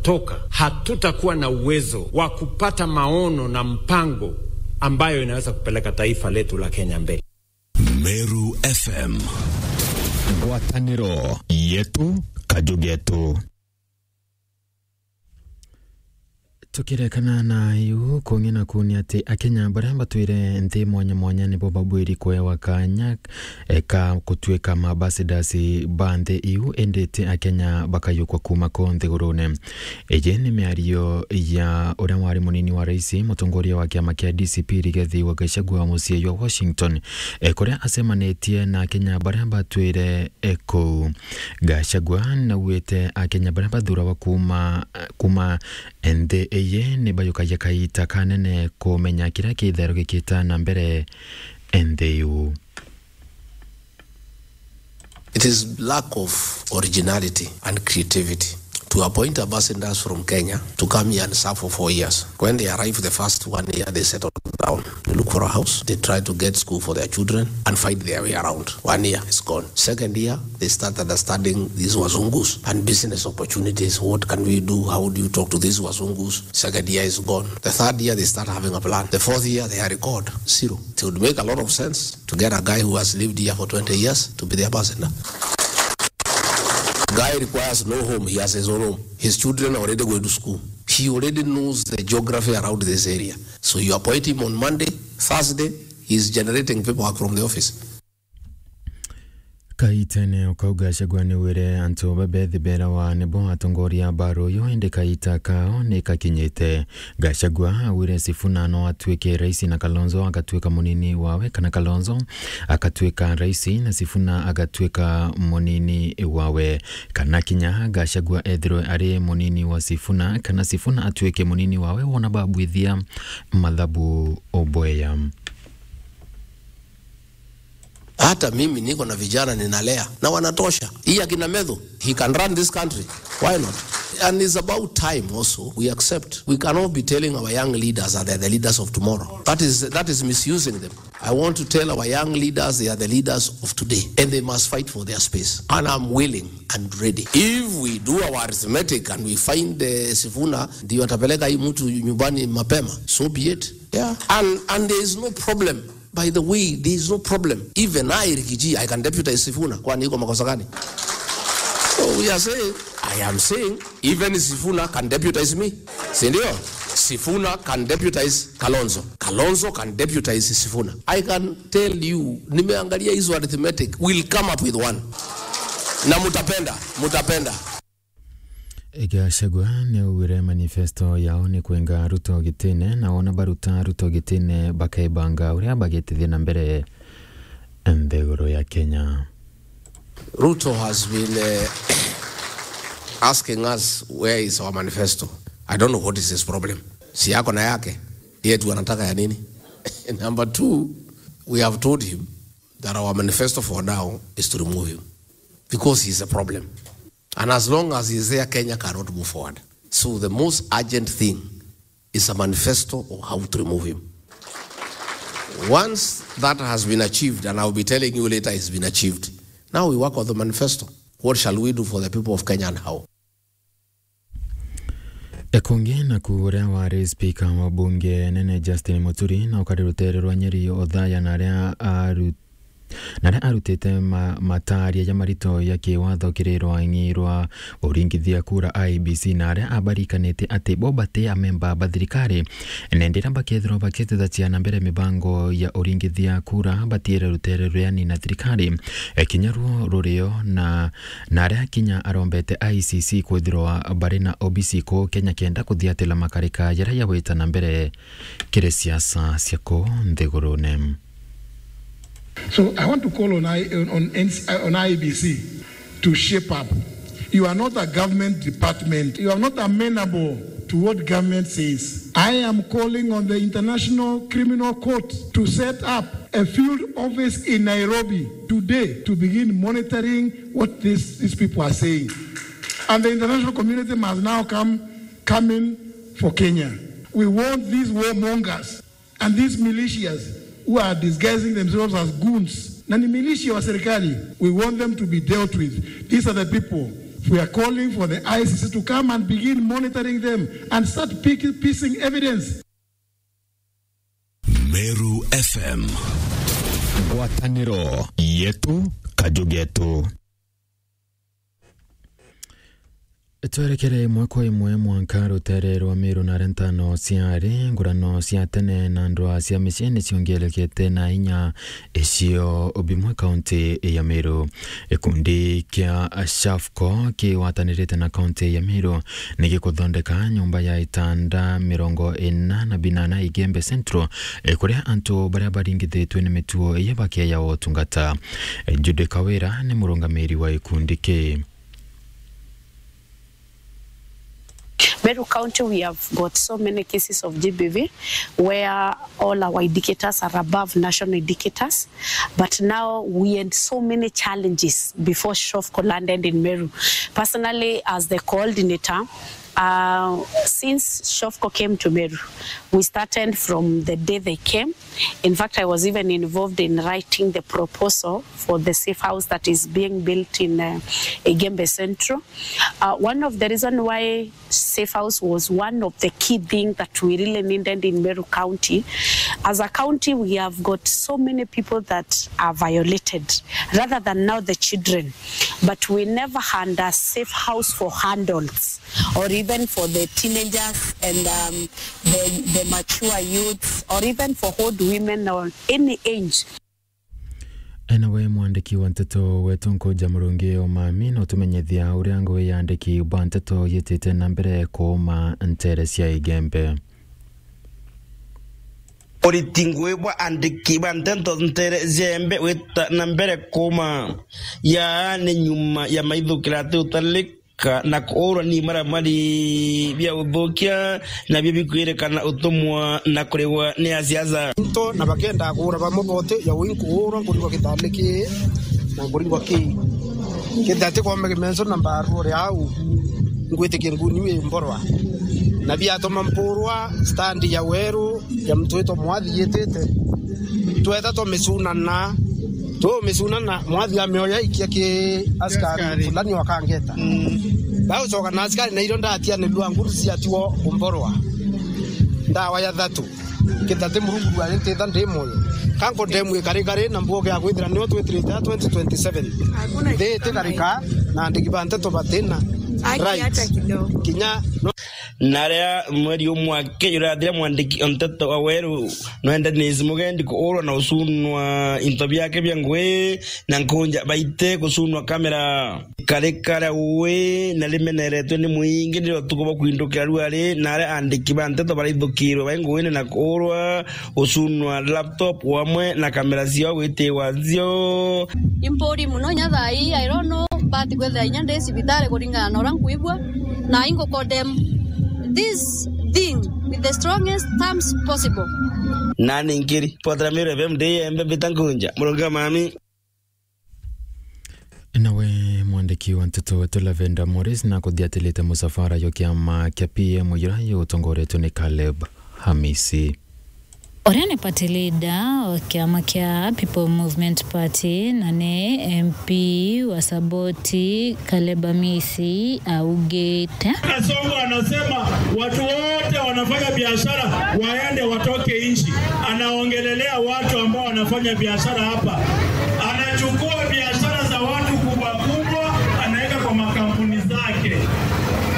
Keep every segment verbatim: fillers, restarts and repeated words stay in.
toka, hatutakuwa na uwezo wa kupata maono na mpango ambayo inaweza kupeleka taifa letu la Kenya mbele. Meru F M. Ngwataniro yetu, kaju getu. Tukirekana na iu, kungi na kuni ati Akenya baria batwire nthi mwanya mwanya nibo babwiri kuewa kanya, e, ka gutuika ma ambassadors ba nthi iu, indi ti Akenya bakayukwa kuma ku nthigurune. Iji ni miario ya uria wari munini wa rais, mutongoria wa kiama kia D C P, Rigathi wa Gachagua, mucii jwa Washington, e, kuria acemanitie na Akenya baria batwire, e, kuu. Gachagua naugite Akenya baria bathuragwa kuma, kuma nthi iyi ni bayukagia kaita kanene kumenya kiria kitherugikite na mbere nthi iu. It is lack of originality and creativity to appoint ambassadors from Kenya to come here and serve for four years. When they arrive the first one year, they settle down. They look for a house, they try to get school for their children and find their way around. One year is gone. Second year, they start understanding these wazungus and business opportunities. What can we do? How do you talk to these wazungus? Second year is gone. The third year, they start having a plan. The fourth year, they are record zero. It would make a lot of sense to get a guy who has lived here for twenty years to be the ambassador. Guy requires no home. He has his own home. His children are already going to school. He already knows the geography around this area. So you appoint him on Monday, Thursday, he's generating paperwork from the office. Kaitene o kau, Gachagua ni wire antu ba bethi berawa nibo atongoria ba ruyu, indi kaita kao ni kakinyite. Gachagua augire Sifuna no atuike rais na Kalonzo agatuika munini wawe, kana Kalonzo akatuika rais na Sifuna agatuika munini wawe, kana kinya Gachagua ethirwe ari munini wa Sifuna, kana Sifuna atuike munini wawe, wona babwithia mathabu ubweya. Hata mimi niko na vijana ninalea na wanatosha. Hii akina Methu, he can run this country. Why not? And it's about time also we accept. We cannot be telling our young leaders that they're the leaders of tomorrow. That is, that is misusing them. I want to tell our young leaders they are the leaders of today and they must fight for their space. And I'm willing and ready. If we do our arithmetic and we find, eh, Sifuna ndio atapeleka hii mtu nyumbani mapema, so be it. Yeah. And, and there is no problem. By the way, there is no problem. Even I, Rigiji, I can deputize Sifuna. Kwani iko makosa gani? So we are saying, I am saying, even Sifuna can deputize me. Si ndio? Sifuna can deputize Kalonzo. Kalonzo can deputize Sifuna. I can tell you, nimeangalia hizo arithmetic, we'll come up with one. Na mutapenda, mutapenda. Gachagua ni augire manifesto yao ni kwenga Ruto gitine, na wona baruta Ruto gitine, bakebanga uria bagitithia na mbere nthiguru ya Kenya. Ruto has been, eh, asking us where is our manifesto. I don't know what is his problem. Si yako na yake, yetu anataka ya nini? Number two, we have told him that our manifesto for now is to remove him because he is a problem. And as long as he is there, Kenya cannot move forward. So the most urgent thing is a manifesto of how to remove him. Once that has been achieved, and I'll be telling you later it's been achieved, now we work on the manifesto. What shall we do for the people of Kenya and how? Ekungi naku uria wari spika wa bunge nene Justin Muturi na ukari rutere rwa Nyeri Othaya na aria aru-, na aria arutite ma-, mataria ja marito ya kiwatho kiri rwang'i rwa uringithia kura I E B C, na aria abarikanite ati bo bati amemba ba thirikari, na indi riria bakethirwa bakitithatia na mbere mibango ya uringithia kura, batiire rutere ruria ni na thirikari, e, kinya ruo rurio na na aria kinya arombete I C C kwithirwa bari na obisi kuu Kenya kenda kuthiatira makarika jaria jagwita na mbere kiri siasa cia kuu nthigurune. So I want to call on I, on, on, N C, on I E B C to shape up. You are not a government department. You are not amenable to what government says. I am calling on the International Criminal Court to set up a field office in Nairobi today to begin monitoring what this, these people are saying. And the international community must now come, come in for Kenya. We want these warmongers and these militias who are disguising themselves as goons. Na ni militia wa serikali, we want them to be dealt with. These are the people We are calling for the I C C to come and begin monitoring them and start pick-, piecing evidence. Meru F M. Ngwataniro yetu, kaju getu. Twerekere imwe kwa imwe mwanka rutere rwa Meru na aria ntano ciari ngurano cia tene na ndwaa cia micii ni ciongerekete na inya icio bimwe kaunti ya Meru. Gikundi kia SHAFCO kigwatanirite na kaunti ya Meru ni gikuthondeka nyumba ya itanda mirongo ina na binana Igembe Central, eh, kuria antu baria baringithitwe ni mitugo iyo bakeeja utungata. Eh, Judy Kawira ni murungamiri wa gikundi kii. Meru County, we have got so many cases of G B V where all our indicators are above national indicators, but now we had so many challenges before SHAFCO landed in Meru. Personally, as the coordinator, uh, since SHAFCO came to Meru, we started from the day they came. In fact, I was even involved in writing the proposal for the safe house that is being built in, uh, Igembe Central. Uh, one of the reasons why safe house was one of the key things that we really needed in Meru County. As a county, we have got so many people that are violated, rather than now the children. But we never had a safe house for adults, or even for the teenagers and, um, the, the mature youths, or even for old women or any age. Enawe mwandiki wa nteto wetu Nkuja Murungi Omami no tumenyithia uria ngugi ya andiki ba nteto yitite na mbere kuuma ntere cia Igembe. Uriti ngugi bwa andiki ba nteto ntere cia Igembe wita na mbere kuuma. Yaa ni nyuma ya maithukira ati utalika ka-, na kuurwa ni maramari bia uthukia, nabio bikwirikana utumwa na kurigwa ni asiasa. Into na bakenda kuura bamwe bote ya ui nkuurwa nkurigwa gitandi kii na nkurigwa kii. Kithati kwombe kimenso na mbaru uri au, ngwitikia nguni wi mborwa. Na biatuma mpurwa stand ya weru ya mtu witwa Mwathi yitite. Tweta twamicunana, twamicunana, Mwathi amioya ikia ki askari. Askari fulani wakangeta. Mm. Baucoka na askari na irio ndatianirua nguru ciatiwa umborwa. Ndawa ya thatu. Kithati Murungu ari ntitha ndi moyo. Kanko ndemu ikari kari na mbuge ya kwithira nio twitirite ya twenty twenty-seven. Hakuna. Thiti karika na andiki ba nteto batina. Haki right. Hata kidogo. Kinya no. Na aria mweri umwe aki jurathira, mwandiki o nteto wa weru no Dennis Mugendi kuurwa na ucunwa into biake bia ngugi na Nkuja baite gucunwa kamera. Kari karia ui na rimeneretwe ni mwingi ni utuku bwa kwindukira ruari, na aria andiki ba nteto baraithukirwe bai nguine na kuurwa, gucunwa laptop wamwe na kamera ciao gwitiwa ncio. Impuri muno inya thaa ii, I don't know, but kwithira inya ndi cibitari kuringana na uria nkwigua, na ingu condemn this thing with the strongest terms possible. Nani nkiri potera Meru F M ndi Igembe mbita Nkuja Murungi Omami. Nawe mwandiki wa nteto wetu Lavender Morris na kuthiatilite musafara yo kiama kia P M ira yutongoretwe ni Caleb Hamisi. Uria ni party leader wa kiama kia People Movement Party na ni M P wa Saboti, Caleb Hamisi augite. Kasongo anasema watu wote wanafanya biashara waende watoke nchi. Anaongelelea watu ambao wanafanya biashara hapa. Anachukua biashara za watu kubwa kubwa, anaweka kwa makampuni zake.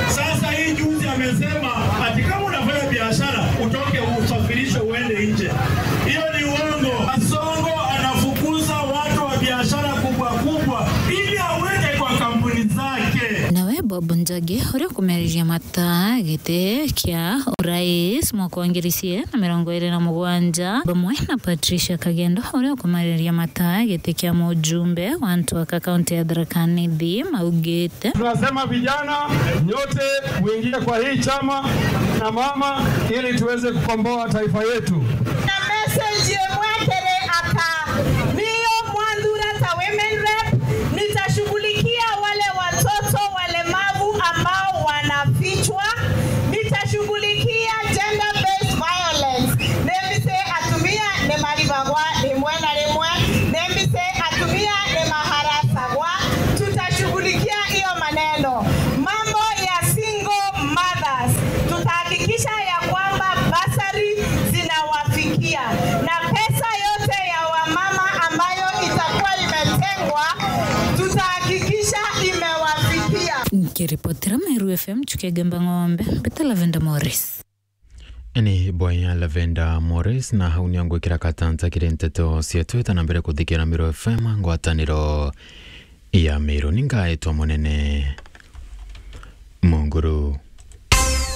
Sasa hii juzi amesema ati kama unafanya biashara, utoke, usafirishwe uende nje. Hiyo ni uongo. Kasongo anafukuza watu wa biashara kubwa kubwa ili aweke kwa kampuni zake. Nawe Bob Njagi, uria ukumeriria mata giti kia urais mwaka wa ngiri ciiri na mirongo iiri na mugwanja, bamwe na Patricia Kagendo, uria ukumeriria mata giti kia mujumbe wa Ntwaka kaunti ya Tharaka Nithi, maugite. Tunasema vijana nyote muingie kwa hii chama na mama ili tuweze kukomboa taifa yetu. Na message imwe kiri aka, niyo mwanthura ta women rep, nitashughulikia wale watoto walemavu ambao wanafichwa, nitashughulikia gender based violence. Nembise atumia ni maribagwa rimwe na rimwe, nembise atumia ni maharasagwa, tutashughulikia hiyo maneno. ambayo itakuwa imetengwa, tutahakikisha imewafikia. Nkiripotera Meru F M, Chukia Gemba Ng'ombe, Beta Lavenda Morris. Ni boya Lavenda Morris, na hau nio ngwikira katanta kiri nteto cietu. Ita na mbere kuthikira Meru F M, ngwataniro ya Meru. Ni ngaetwa Munene Munguru.